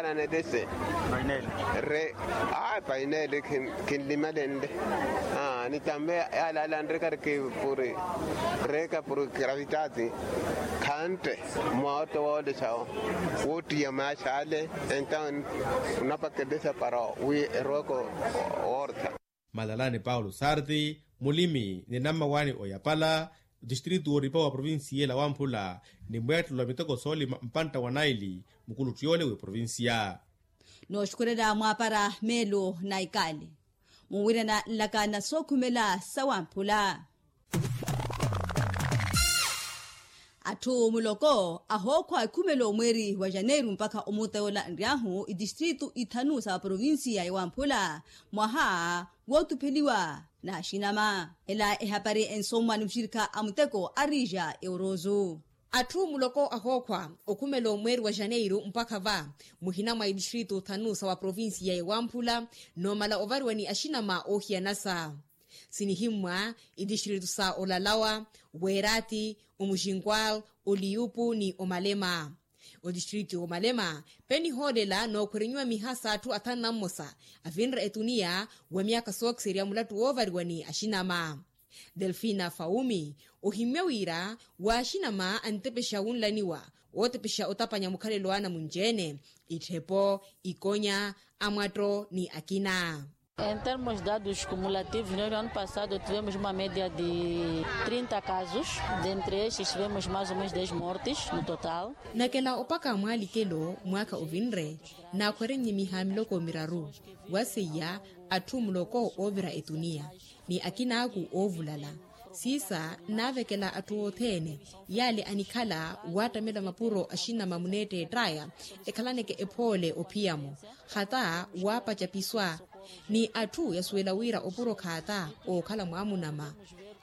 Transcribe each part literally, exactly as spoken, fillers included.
Ananetese re a painele. Kinlimalenle ni tambe yalalanre kariki puri reka puri gravitati khante mwaoto woolesa wootiya maxale. Entaw unapaketesa para wi eroweko woorta. Malalani paulo sarti mulimi ni nammawani oyapala distritu wooripa wa provincia ela wamphula ni mweettelo wa miteko soolima mpantta wa naili mukuluttu yoole w'eprovincia. Nooxukhurela mwaapara meelo na ikali munwirana nlaka na sookhumela sawamphula. Atthu muloko ahookhwa ekhumela omweeri wa janeiru mpakha omuuta yoola nry'ahu itistritu ithanu sa provincia ya wamphula mwaha wootupheliwa n'axinama. Ela ehapari ensomwa ni muxirikha a muteko a rija eurozu. Atthu muloko ahookhwa okhumela omweeri wa janeiru mpakha va muhina mwa itistritu thanu sa wa provincia ya wamphula noomala ovariwa ni axinama oohiyanasa. Sinihimmwa itistritu sa olalawa, weerati, omuxinkwal, oliyupu ni omalema. Otistritu omalema penihoolela nookhwerenyiwa miha s'atthu athanu na mmosa avinre etuniya wa myaakha sookiserya mulattu woovariwa ni axinama. Delfina faumi ohimmya wira w'axinama antepexa wunlaniwa ootepexa otapanya mukhalelo w'anamunci-ene, itthepo, ikonya, amwatto ni akina. Em termos de dados cumulativos no ano passado tivemos uma media de trinta casos. Dentre estes tivemos mais ou menos dez mortes no total. Nakela opaka mwaalikelo mwaakha ovinre naakhwerennye miha miloko miraru waseiya atthu muloko oovira etuniya ni akinaaku oovulala. Siisa nnaavekela atthu othene yaale anikhala waattamela mapuro axinama muneetteett'aya ekhalaneke ephoole ophiya-mo khata waapaca piswa. Ni atthu yasuwela wira opuro khaata ookhala mwaamunama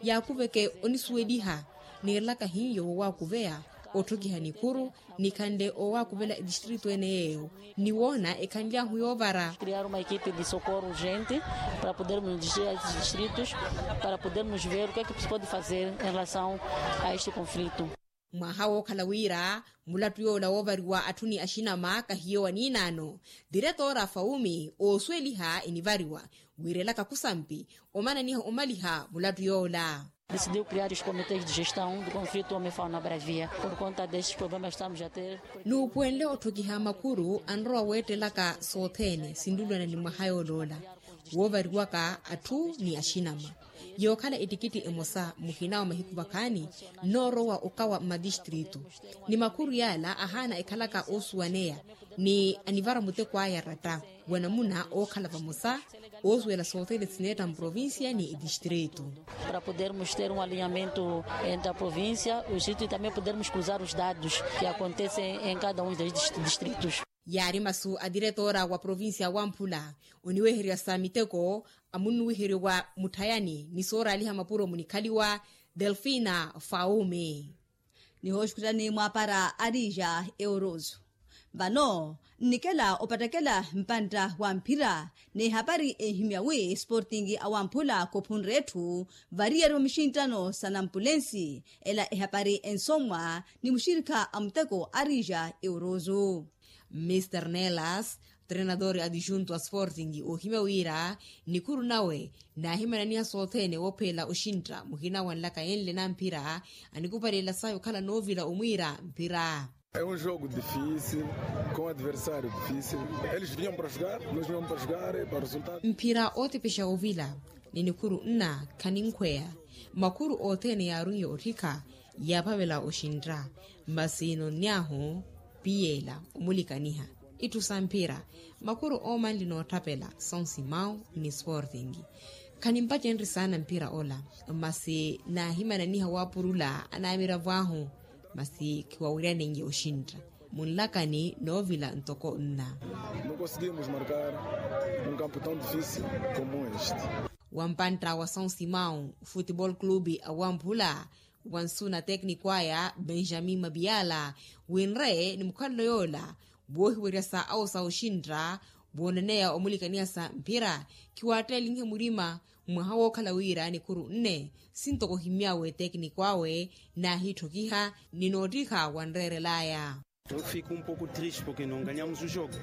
yaakuveke onisuweliha. Niirelaka hiyo wowaakuveya otthokiha nikhuru nikhanle owaakuvela etistritu ene yeeyo ni woona ekhanly'ahu yoovara. Criar uma equipe de socorro urgente para podermos dirigir a estes distritos para podermos ver o que é que se pode fazer em relação a este conflito. Mwaha wookhala wira mulattu yoola woovariwa atthu ni axinama kahiyo wa niinaano. Diretoora faumi oosuweliha enivariwa wiirelaka khusampi omananiha omaliha mulattu yoola. Decidiu criar os comités de gestão do conflito homem fauna bravia por conta destes problemas que estamos a ter. Nuupuwenle otthokiha makhuru anrowa weettelaka sothene sinlulwana ni mwaha yooloola woovariwaka atthu ni axinama. Yookhala ettikitti emosa muhina wa mahiku vakhaani nnoorowa okawa mmatistritu ni makhuru yaala ahaana ekhalaka oosuwaneya ni anivara muteko aya ratta wa namuna ookhala vamosa oosuwela sothene sineetta mprovincia ni etistritu. Para podermos ter um alinhamento entre a provincia o distrito e também podermos cruzar os dados que acontecem em cada um dos distritos. Yaari masu a diretoora wa provincia wamphula oniweherya sa miteko amunnuwiheryo wa mutthayani ni sooraaliha mapuro munikhaliwa delfina faume. Nihooxukhutani mwaapara a rija euroso vano nnikela opattakela mpantta wa mphira n'ehapari enhimya wi sporting awamphula khuphunre etthu variyari va mixinttano sa nampulensi. Ela ehapari ensomwa ni muxirikha a muteko a rija euroso. Mr nelas trenador adjunto a sporting oohimya wira nikhuru nawe naahimananiha sothene woophela oxintta muhina wa nlaka yenle na mphira anikupalela sayi okhala noovila omwiira mphira. É um jogo difícil com adversário difícil. Eles vinham para jogar, nós vinhamos para jogar para resultado. Mphira ootepexa ovila ni nikhuru nna khaninkweya makhuru othene yaarunye otthikha yaaphavela oxintta. Masi nonny'ahu piyeela omulikaniha itthu sa mphira makhuru oomanli nootthapela sonsimau ni sporting. Khanimpacenrye saana mphira ola masi naahimananiha waapurula anaamiravo ahu masi khiwawiryanenye oxintta munlakani noovila ntoko nna. Não conseguimos marcar um campo tão difícil como este. Wampantta wa sonsimau futebol clube awamphula wansu na tekniko aya benjamin mabiala winre ni mukhalelo yoola woohiwerya sa awo sa oxintta wooneneya omulikaniha sa mphira khiwaattelinhe murima. Mwaha wookhala wira nikhuru nne sintoko ohimmyawe tekniko awe naahitthokiha ni noottiha wanreerelaya. Fica um pouco triste porque não ganhamos o jogo.